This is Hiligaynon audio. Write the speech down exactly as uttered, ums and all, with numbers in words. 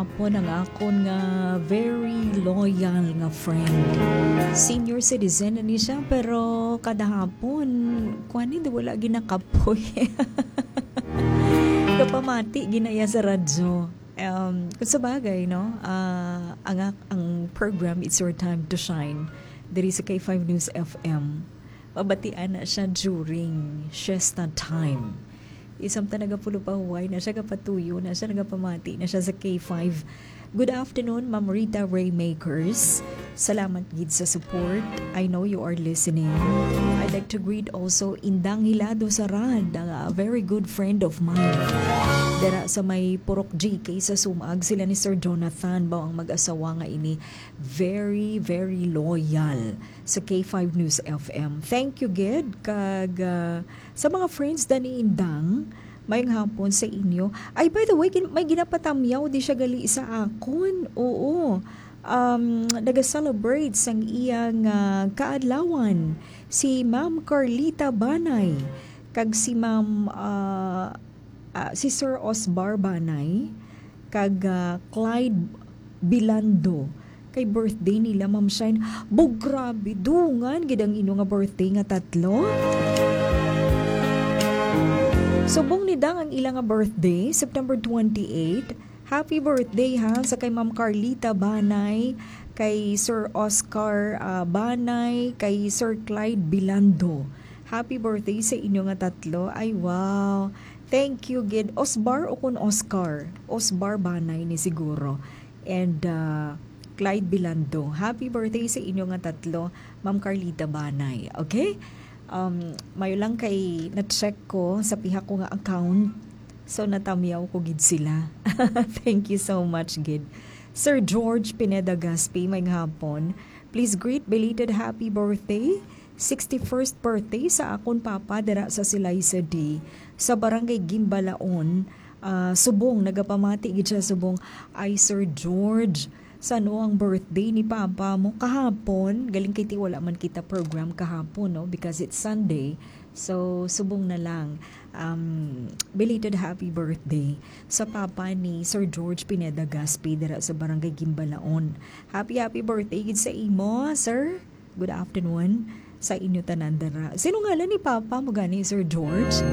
Hapon ang akon nga very loyal nga friend. Senior citizen na ni siya, pero kada hapon, kuwan, hindi, wala ginakapoy. Kapamati, ginaya sa radyo. Um, kung sa bagay, no? Ah, ang, ak- ang program, It's Your Time to Shine, diri sa K five News F M. Mabatian na siya during siesta time. Isang ta nagapulo pa huway na siya, gapatuyo na siya, nagapamati na siya sa K five. Good afternoon, Ma'am Rita Raymakers. Salamat gid sa support. I know you are listening. I'd like to greet also Indang Hilado Sarad, a very good friend of mine. Dara sa may Purok G K sa Sumag, sila ni Sir Jonathan, ba ang mag-asawa nga ini. Very, very loyal sa K five News F M. Thank you, gid. Kag, ah, sa mga friends da ni Indang, mayong hapon sa inyo. Ay, by the way, gin- may ginapatamyaw di siya gali sa akon. Oo. Um, naga-celebrate sang iyang, ah, kaadlawan si Ma'am Carlita Banay kag si Ma'am, ah, ah, si Sir Osbar Banay kag, ah, Clyde Bilando. Kay birthday nila, Ma'am Shine. Bug, grabe, dungan gid ang inyo nga birthday nga tatlo. Subong ni Dang ang ila nga birthday, September twenty-eight. Happy birthday, ha, sa kay Ma'am Carlita Banay, kay Sir Oscar, ah, Banay, kay Sir Clyde Bilando. Happy birthday sa inyo nga tatlo. Ay, wow. Thank you, gid. Osbar o kun Oscar? Osbar Banay ni siguro. And, uh, Clyde Bilando. Happy birthday sa inyo nga tatlo, Ma'am Carlita Banay. Okay? Um, mayo lang kay na-check ko sa pihak ko nga account. So, natamyaw ko gid sila. Thank you so much, gid. Sir George Pineda Gaspi, may hapon. Please greet belated happy birthday, sixty-first birthday sa akon papa dira sa Silay City, sa Barangay Gimbalaon. Ah, subong, nagapamati gid siya subong, "Ay, Sir George, san-o ang birthday ni papa mo kahapon?" Galing kay ti wala man kita program kahapon, no? Because it's Sunday. So, subong na lang. Um, belated happy birthday sa papa ni Sir George Pineda Gaspi dira sa Barangay Gimbalaon. Happy, happy birthday gid sa imo, sir. Good afternoon sa inyo tanan dira. Sino ngalan ni papa mo gani, Sir George?